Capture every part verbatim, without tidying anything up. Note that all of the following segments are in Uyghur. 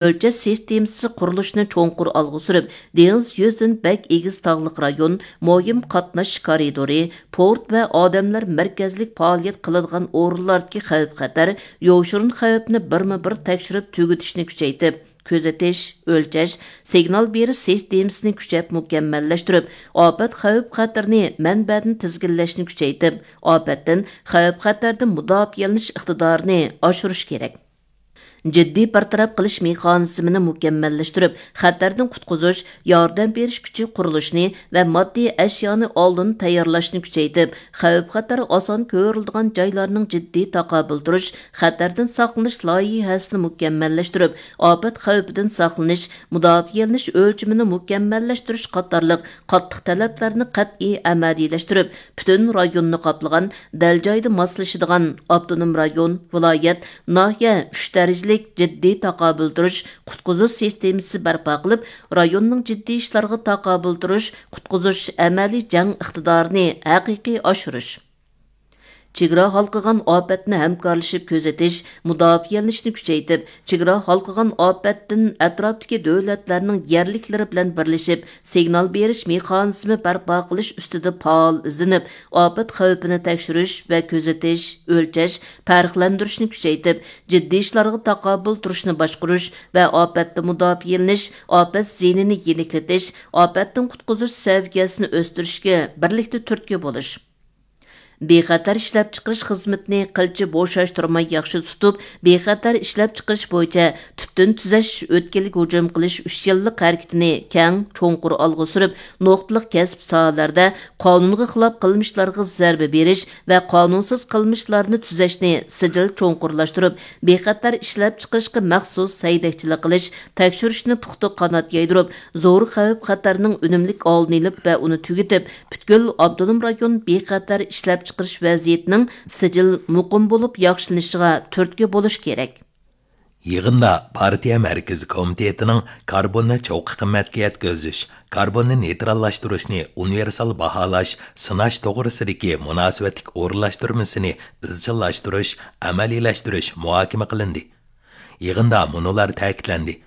ئۆلچەش سىستېمىسى قۇرۇلۇشىنى چوڭقۇر ئالغا سۈرۈپ، دېڭىز يۈزىدىن بەك ئېگىز تاغلىق رايون، مۇھىم قاتناش كارىدورى، پورت ۋە ئادەملەر مەركەزلىك پائالىيەت قىلىدىغان ئورۇنلاردىكى خەۋپ-خەتەر، يوشۇرۇن خەۋپنى بىرمۇبىر تەكشۈرۈپ تۈگىتىشنى كۈچەيتىپ، كۆزىتىش، ئۆلچەش، سىگنال بېرىش سىستېمىسىنى كۈچەپ مۇكەممەللەشتۈرۈپ، ئاپەت خەۋپ-خەتىرىنى مەنبەدىن تىزگىنلەشنى كۈچەيتىپ، ئاپەتتىن، خەۋپ-خەتەردىن مۇداپىئەلىنىش ئىقتىدارىنى ئاشۇرۇش كېرەك. جىددىي بىر تەرەپ قىلىش مېخانىزمىنى مۇكەممەللەشتۈرۈپ، خەتەردىن قۇتقۇزۇش، ياردەم بېرىش كۈچى قۇرۇلۇشىنى ۋە ماددىي ئەشيانى ئالدىن تەييارلاشنى كۈچەيتىپ، خەۋپ-خەتەر ئاسان كۆرۈلىدىغان جايلارنىڭ جىددىي تاقابىل تۇرۇش، خەتەردىن ساقلىنىش لايىھەسىنى مۇكەممەللەشتۈرۈپ، ئاپەت خەۋپىدىن ساقلىنىش، مۇداپىئەلىنىش ئۆلچىمىنى مۇكەممەللەشتۈرۈش قاتارلىق قاتتىق تەلەپلەرنى قەتئىي ئەمەلىيلەشتۈرۈپ، پۈتۈن رايوننى قاپلىغان، دەل جايىدا ماسلىشىدىغان ئاپتونوم رايون، ۋىلايەت، ناھىيە ئۈچ دەرىجىلىك جىددىي تاقابىل تۇرۇش، قۇتقۇزۇش سىستېمىسى بەرپا قىلىپ، رايوننىڭ جىددىي ئىشلارغا تاقابىل تۇرۇش، قۇتقۇزۇش ئەمەلىي جەڭ ئىقتىدارىنى ھەقىقىي ئاشۇرۇش. چېگرا ھالقىغان ئاپەتنى ھەمكارلىشىپ كۆزىتىش، مۇداپىئەلىنىشنى كۈچەيتىپ، چېگرا ھالقىغان ئاپەتتىن ئەتراپتىكى دۆلەتلەرنىڭ يەرلىكلىرى بىلەن بىرلىشىپ، سىگنال بېرىش مېخانىزمى بەرپا قىلىش ئۈستىدە پائال ئىزدىنىپ، ئاپەت خەۋپىنى تەكشۈرۈش ۋە كۆزىتىش، ئۆلچەش، پەرقلەندۈرۈشنى كۈچەيتىپ، جىددىي ئىشلارغا تاقابىل تۇرۇشنى باشقۇرۇش ۋە ئاپەتتىن مۇداپىئەلىنىش، ئاپەت زىيىنىنى يېنىكلىتىش، ئاپەتتىن قۇتقۇزۇش سەۋىيەسىنى ئۆستۈرۈشكە بىرلىكتە تۈرتكە بولۇش. بىخەتەر ئىشلەپچىقىرىش خىزمىتىنى قىلچە بوشاشتۇرماي ياخشى تۇتۇپ، بىخەتەر ئىشلەپچىقىرىش بويىچە تۈپتىن تۈزەش ئۆتكىلىگە ھۇجۇم قىلىش ئۈچ يىللىق ھەرىكىتىنى كەڭ، چوڭقۇر ئالغا سۈرۈپ، نۇقتىلىق كەسىپ ساھەلەردە قانۇنغا خىلاپ قىلمىشلارغا زەربە بېرىش ۋە قانۇنسىز قىلمىشلارنى تۈزەشنى سىجىل چوڭقۇرلاشتۇرۇپ، بىخەتەر ئىشلەپچىقىرىشقا مەخسۇس سەيدەكچىلىك قىلىش، تەكشۈرۈشنى پۇختا قانات يايدۇرۇپ، زور خەۋپ-خەتەرنىڭ ئۈنۈملۈك ئالدىنى ئېلىپ ۋە ئۇنى تۈگىتىپ، پۈتكۈل ئاپتونوم رايون بىخەتەر ئىشلەپچىقىرىش ۋەزىيىتىنىڭ سىجىل، مۇقىم بولۇپ ياخشىلىنىشىغا تۈرتكە بولۇش كېرەك. يىغىندا پارتىيە مەركىزىي كومىتېتىنىڭ كاربوننى چوققا قىممەتكە يەتكۈزۈش، كاربوننى نېيتراللاشتۇرۇشنى ئۇنىۋېرسال باھالاش، سىناش توغرىسىدىكى مۇناسىۋەتلىك ئورۇنلاشتۇرمىسىنى ئىزچىللاشتۇرۇش، ئەمەلىيلەشتۈرۈش مۇھاكىمە قىلىندى. يىغىندا مۇنۇلار تەكىتلەندى: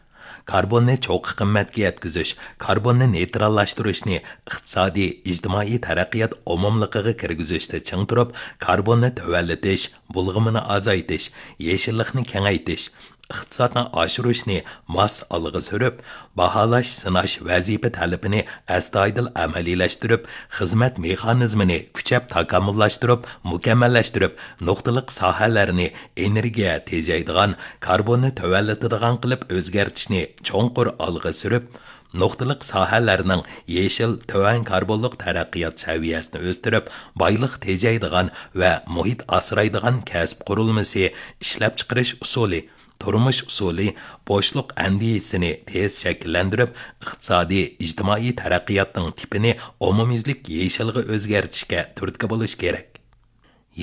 كاربوننى چوققا قىممەتكە يەتكۈزۈش، كاربوننى نېيتراللاشتۇرۇشنى ئىقتىسادىي، ئىجتىمائىي تەرەققىيات ئومۇملۇقىغا كىرگۈزۈشتە چىڭ تۇرۇپ، كاربوننى تۆۋەنلىتىش، بۇلغىمىنى ئازايتىش، يېشىللىقنى كېڭەيتىش، ئىقتىسادنى ئاشۇرۇشنى ماس ئالغا سۈرۈپ، باھالاش، سىناش ۋەزىپە تەلىپىنى ئەستايىدىل ئەمەلىيلەشتۈرۈپ، خىزمەت مېخانىزمىنى كۈچەپ تاكامۇللاشتۇرۇپ، مۇكەممەللەشتۈرۈپ، نۇقتىلىق ساھەلەرنى ئېنېرگىيە تېجەيدىغان، كاربوننى تۆۋەنلىتىدىغان قىلىپ ئۆزگەرتىشنى چوڭقۇر ئالغا سۈرۈپ، نۇقتىلىق ساھەلەرنىڭ يېشىل، تۆۋەن كاربونلۇق تەرەققىيات سەۋىيەسىنى ئۆستۈرۈپ، بايلىق تېجەيدىغان ۋە مۇھىت ئاسرايدىغان كەسىپ قۇرۇلمىسى، ئىشلەپچىقىرىش ئۇسۇلى، تۇرمۇش ئۇسۇلى، بوشلۇق ئەندىزىسىنى تېز شەكىللەندۈرۈپ، ئىقتىسادىي، ئىجتىمائىي تەرەققىياتنىڭ تىپىنى ئومۇميۈزلۈك يېشىلغا ئۆزگەرتىشكە تۈرتكە بولۇش كېرەك.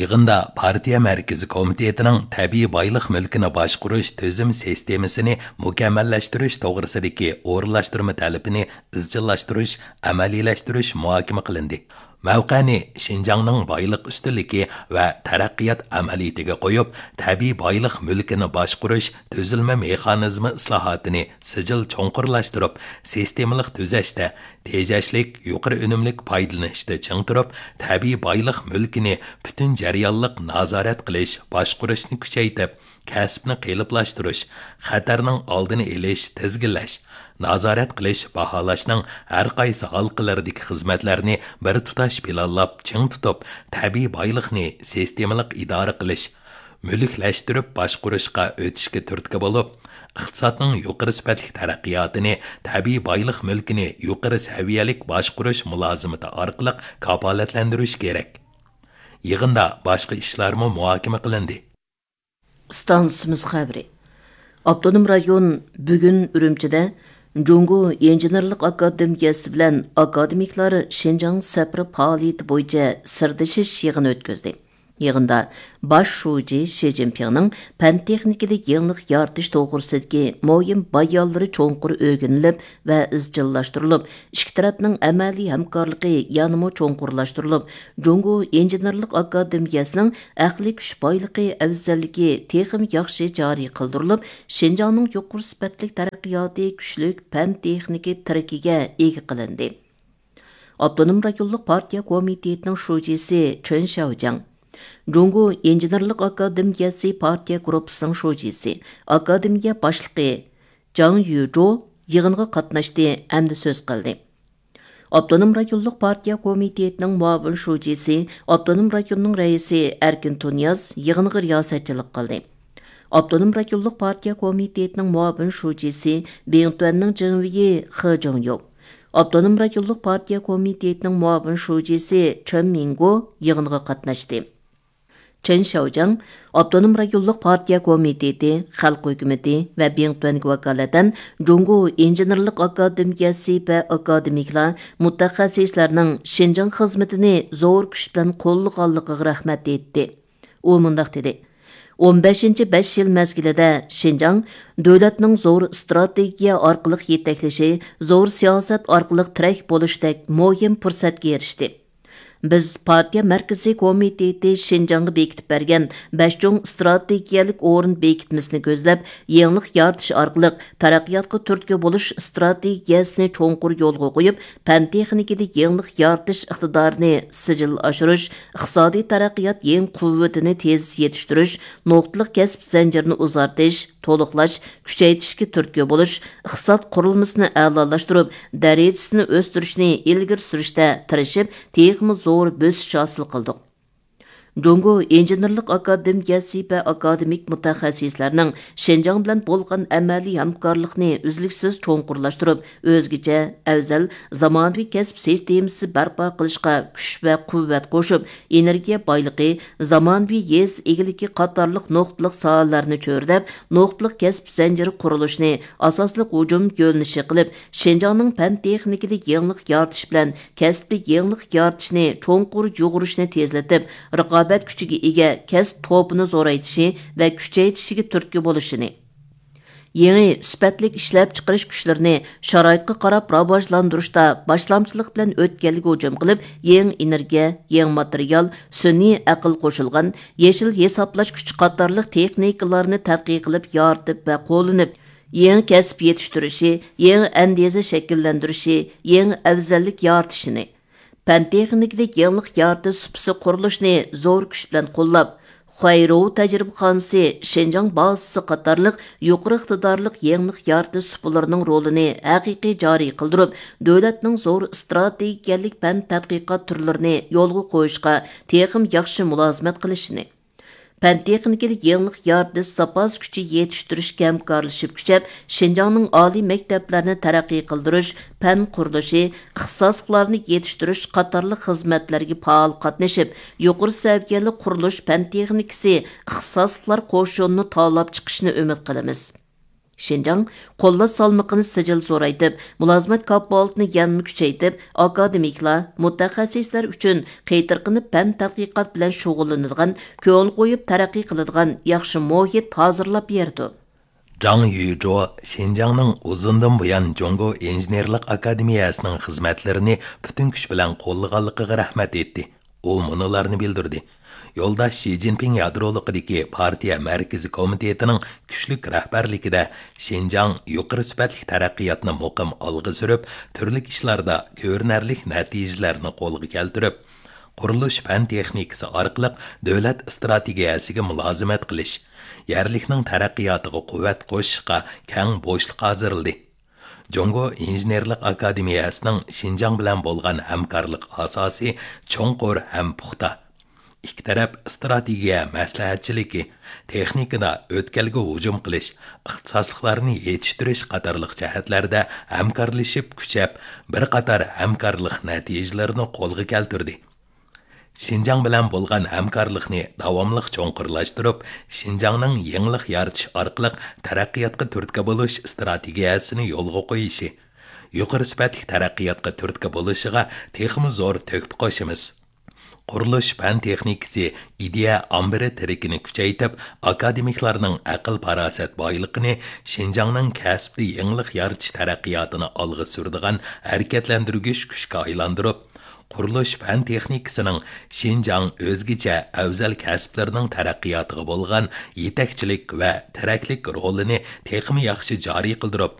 يىغىندا پارتىيە مەركىزىي كومىتېتىنىڭ تەبىئىي بايلىق مۈلكىنى باشقۇرۇش تۈزۈم سىستېمىسىنى مۇكەممەللەشتۈرۈش توغرىسىدىكى ئورۇنلاشتۇرما تەلىپىنى ئىزچىللاشتۇرۇش، ئەمەلىيلەشتۈرۈش مۇھاكىمە قىلىندى. مەۋقەنى شىنجاڭنىڭ بايلىق ئۈستۈنلۈكى ۋە تەرەققىيات ئەمەلىيىتىگە قويۇپ، تەبىئىي بايلىق مۈلكىنى باشقۇرۇش تۈزۈلمە مېخانىزمى ئىسلاھاتىنى سىجىل چوڭقۇرلاشتۇرۇپ، سىستېمىلىق تۈزەشتە تېجەشلىك، يۇقىرى ئۈنۈملۈك پايدىلىنىشتا چىڭ تۇرۇپ، تەبىئىي بايلىق مۈلكىنى پۈتۈن جەريانلىق نازارەت قىلىش، باشقۇرۇشنى كۈچەيتىپ، كەسىپنى قېلىپلاشتۇرۇش، خەتەرنىڭ ئالدىنى ئېلىش، تىزگىنلەش، نازارەت قىلىش، باھالاشنىڭ ھەر قايسى ھالقىلىرىدىكى خىزمەتلەرنى بىر تۇتاش پىلانلاپ چىڭ تۇتۇپ، تەبىئىي بايلىقنى سىستېمىلىق ئىدارە قىلىش، مۈلۈكلەشتۈرۈپ باشقۇرۇشقا ئۆتۈشكە تۈرتكە بولۇپ، ئىقتىسادنىڭ يۇقىرى سۈپەتلىك تەرەققىياتىنى، تەبىئىي بايلىق مۈلكىنى يۇقىرى سەۋىيەلىك باشقۇرۇش مۇلازىمىتى ئارقىلىق كاپالەتلەندۈرۈش كېرەك. يىغىندا باشقا ئىشلارمۇ مۇھاكىمە قىلىندى. ئىستانسىمىز خەۋىرى. ئاپتونوم رايون بۈگۈن ئۈرۈمچىدە جۇڭگو ئىنژېنېرلىق ئاكادېمىيەسى بىلەن ئاكادېمىكلار شىنجاڭ سەپىرى پائالىيىتى بويىچە سىردىشىش يىغىنى ئۆتكۈزدى. يىغىندا باش شۇجى شى جىنپىڭنىڭ پەن تېخنىكىدا يېڭىلىق يارىتىش توغرىسىدىكى مۇھىم بايانلىرى چوڭقۇر ئۆگىنىلىپ ۋە ئىزچىللاشتۇرۇلۇپ، ئىككى تەرەپنىڭ ئەمەلىي ھەمكارلىقى يەنىمۇ چوڭقۇرلاشتۇرۇلۇپ، جۇڭگو ئىنژېنېرلىق ئاكادېمىيەسىنىڭ ئەقلىي كۈچ بايلىقى ئەۋزەللىكى تېخىمۇ ياخشى جارى قىلدۇرۇلۇپ، شىنجاڭنىڭ يۇقىرى سۈپەتلىك تەرەققىياتى كۈچلۈك پەن تېخنىكا تىرىكىگە ئىگە قىلىندى. ئاپتونوم رايونلۇق پارتىيە كومىتېتىنىڭ شۇجىسى چېن شياۋجياڭ، جۇڭگو ئىنژېنېرلىق ئاكادېمىيەسى پارتىيە گۇرۇپپىسىنىڭ شۇجىسى، ئاكادېمىيە باشلىقى جاڭ يۈجو يىغىنغا قاتناشتى ھەمدە سۆز قىلدى. ئاپتونوم رايونلۇق پارتىيە كومىتېتىنىڭ مۇئاۋىن شۇجىسى، ئاپتونوم رايوننىڭ رەئىسى ئەركىن تۇنىياز يىغىنغا رىياسەتچىلىك قىلدى. ئاپتونوم رايونلۇق پارتىيە كومىتېتىنىڭ مۇئاۋىن شۇجىسى، بىڭتۈەننىڭ جېڭۋېيى خې جوڭيۇ، ئاپتونوم رايونلۇق پارتىيە كومىتېتىنىڭ مۇئاۋىن شۇجىسى چېن مىڭگو يىغىنغا قاتناشتى. چېن شياۋجياڭ ئاپتونوم رايونلۇق پارتىيە كومىتېتى، خەلق ھۆكۈمىتى ۋە بىڭتۈەنگە ۋاكالىتەن جۇڭگو ئىنژېنېرلىق ئاكادېمىيەسى ۋە ئاكادېمىكلار، مۇتەخەسسىسلەرنىڭ شىنجاڭ خىزمىتىنى زور كۈچ بىلەن قوللىغانلىقىغا رەھمەت ئېيتتى. ئۇ مۇنداق دېدى، ئون بەشىنچى بەش يىل مەزگىلىدە شىنجاڭ دۆلەتنىڭ زور ئىستراتېگىيە ئارقىلىق يېتەكلىشى، زور سىياسەت ئارقىلىق تىرەك بولۇشتەك مۇھىم پۇرسەتكە ئېرىشتى. بىز پارتىيە مەركىزىي كومىتېتى شىنجاڭغا بېكىتىپ بەرگەن بەش چوڭ ئىستراتېگىيەلىك ئورۇن بېكىتمىسىنى كۆزلەپ، يېڭىلىق يارىتىش ئارقىلىق تەرەققىياتقا تۈرتكە بولۇش ئىستراتېگىيەسىنى چوڭقۇر يولغا قويۇپ، پەن تېخنىكىدا يېڭىلىق يارىتىش ئىقتىدارىنى سىجىل ئاشۇرۇش، ئىقتىسادىي تەرەققىيات يېڭى قۇۋۋىتىنى تېز يېتىشتۈرۈش، نۇقتىلىق كەسىپ زەنجىرىنى ئۇزارتىش، تولۇقلاش، كۈچەيتىشكە تۈرتكە بولۇش، ئىقتىساد قۇرۇلمىسىنى ئەلالاشتۇرۇپ، دەرىجىسىنى ئۆستۈرۈشنى ئىلگىرى سۈرۈشتە تىرىشىپ، تېخىمۇ زور بۆسۈش ھاسىل قىلدۇق. جۇڭگو ئىنژېنېرلىق ئاكادېمىيەسى ۋە ئاكادېمىك مۇتەخەسسىسلەرنىڭ شىنجاڭ بىلەن بولغان ئەمەلىي ھەمكارلىقنى ئۈزلۈكسىز چوڭقۇرلاشتۇرۇپ، ئۆزگىچە، ئەۋزەل، زامانىۋى كەسىپ سىستېمىسى بەرپا قىلىشقا كۈچ ۋە قۇۋۋەت قوشۇپ، ئېنېرگىيە بايلىقى، زامانىۋى يېزا ئىگىلىكى قاتارلىق نۇقتىلىق ساھەلەرنى چۆرىدەپ، نۇقتىلىق كەسىپ زەنجىرى قۇرۇلۇشىنى ئاساسلىق ھۇجۇم يۆنىلىشى قىلىپ، شىنجاڭنىڭ پەن تېخنىكىدا يېڭىلىق يارىتىش بىلەن كەسپىي يېڭىلىق يارىتىشنى چوڭقۇر يۇغۇرۇشنى تېزلىتىپ، رىقابەت كۈچىگە ئىگە كەسىپ توپىنى زورايتىشى ۋە كۈچەيتىشىگە تۈرتكە بولۇشىنى، يېڭى سۈپەتلىك ئىشلەپچىقىرىش كۈچلىرىنى شارائىتقا قاراپ راۋاجلاندۇرۇشتا باشلامچىلىق بىلەن ئۆتكەلگە ھۇجۇم قىلىپ، يېڭى ئېنېرگىيە، يېڭى ماتېرىيال، سۈنئىي ئەقىل قوشۇلغان، يېشىل ھېسابلاش كۈچى قاتارلىق تېخنىكىلارنى تەتقىق قىلىپ يارىتىپ ۋە قوللىنىپ، يېڭى كەسىپ يېتىشتۈرۈشى، يېڭى ئەندىزە شەكىللەندۈرۈشى، يېڭى ئەۋزەللىك يارىتىشىنى، پەن تېخنىكىدا يېڭىلىق يارىتىش سۇپىسى قۇرۇلۇشىنى زور كۈچ بىلەن قوللاپ، خۇەيرۇ تەجرىبىخانىسى، شىنجاڭ بازىسى قاتارلىق يۇقىرى ئىقتىدارلىق يېڭىلىق يارىتىش سۇپىلىرىنىڭ رولىنى ھەقىقىي جارى قىلدۇرۇپ، دۆلەتنىڭ زور ئىستراتېگىيەلىك پەن تەتقىقات تۈرلىرىنى يولغا قويۇشقا تېخىمۇ ياخشى مۇلازىمەت قىلىشىنى، پەن تېخنىكىدا يېڭىلىق يارىتىش زاپاس كۈچى يېتىشتۈرۈشكە ھەمكارلىشىپ كۈچەپ، شىنجاڭنىڭ ئالىي مەكتەپلەرنى تەرەققىي قىلدۇرۇش، پەن قۇرۇلۇشى، ئىختىساسلىقلارنى يېتىشتۈرۈش قاتارلىق خىزمەتلەرگە پائال قاتنىشىپ، يۇقىرى سەۋىيەلىك قۇرۇلۇش پەن تېخنىكىسى ئىختىساسلىقلار قوشۇنىنى تاۋلاپ چىقىشىنى ئۈمىد قىلىمىز. شىنجاڭ قوللاش سالمىقىنى سىجىل زورايتىپ، مۇلازىمەت كاپالىتىنى يەنىمۇ كۈچەيتىپ، ئاكادېمىكلار، مۇتەخەسسىسلەر ئۈچۈن قېتىرقىنىپ پەن تەتقىقات بىلەن شۇغۇللىنىدىغان، كۆڭۈل قويۇپ تەرەققىي قىلىدىغان ياخشى مۇھىت ھازىرلاپ بېرىدۇ. جاڭ يۈجو شىنجاڭنىڭ ئۇزۇندىن بۇيان جۇڭگو ئىنژېنېرلىق ئاكادېمىيەسىنىڭ خىزمەتلىرىنى پۈتۈن كۈچ بىلەن قوللىغانلىقىغا رەھمەت ئېيتتى. ئۇ مۇنۇلارنى بىلدۈردى: يولداش شى جىنپىڭ يادرولۇقىدىكى پارتىيە مەركىزىي كومىتېتىنىڭ كۈچلۈك رەھبەرلىكىدە شىنجاڭ يۇقىرى سۈپەتلىك تەرەققىياتنى مۇقىم ئالغا سۈرۈپ، تۈرلۈك ئىشلاردا كۆرۈنەرلىك نەتىجىلەرنى قولغا كەلتۈرۈپ، قۇرۇلۇش پەن تېخنىكىسى ئارقىلىق دۆلەت ئىستراتېگىيەسىگە مۇلازىمەت قىلىش، يەرلىكنىڭ تەرەققىياتىغا قۇۋۋەت قوشۇشقا كەڭ بوشلۇق ھازىرلىدى. جۇڭگو ئىنژېنېرلىق ئاكادېمىيەسىنىڭ شىنجاڭ بىلەن بولغان ھەمكارلىق ئاساسى چوڭقۇر ھەم پۇختا. ئىككى تەرەپ ئىستراتېگىيە مەسلىھەتچىلىكى، تېخنىكىدا ئۆتكەلگە ھۇجۇم قىلىش، ئىختىساسلىقلارنى يېتىشتۈرۈش قاتارلىق جەھەتلەردە ھەمكارلىشىپ كۈچەپ، بىر قاتار ھەمكارلىق نەتىجىلىرىنى قولغا كەلتۈردى. شىنجاڭ بىلەن بولغان ھەمكارلىقنى داۋاملىق چوڭقۇرلاشتۇرۇپ، شىنجاڭنىڭ يېڭىلىق يارىتىش ئارقىلىق تەرەققىياتقا تۈرتكە بولۇش ئىستراتېگىيەسىنى يولغا قويۇشى، يۇقىرى سۈپەتلىك تەرەققىياتقا تۈرتكە بولۇشىغا تېخىمۇ زور تۆھپە قوشىمىز. قۇرۇلۇش پەن تېخنىكىسى ئىدىيە ئامبىرى تىرىكىنى كۈچەيتىپ، ئاكادېمىكلارنىڭ ئەقىل-پاراسەت بايلىقىنى شىنجاڭنىڭ كەسىپتە يېڭىلىق يارىتىش تەرەققىياتىنى ئالغا سۈرىدىغان ھەرىكەتلەندۈرگۈچ كۈچكە ئايلاندۇرۇپ، قۇرۇلۇش پەن تېخنىكىسىنىڭ شىنجاڭ ئۆزگىچە ئەۋزەل كەسىپلىرىنىڭ تەرەققىياتىغا بولغان يېتەكچىلىك ۋە تىرەكلىك رولىنى تېخىمۇ ياخشى جارى قىلدۇرۇپ،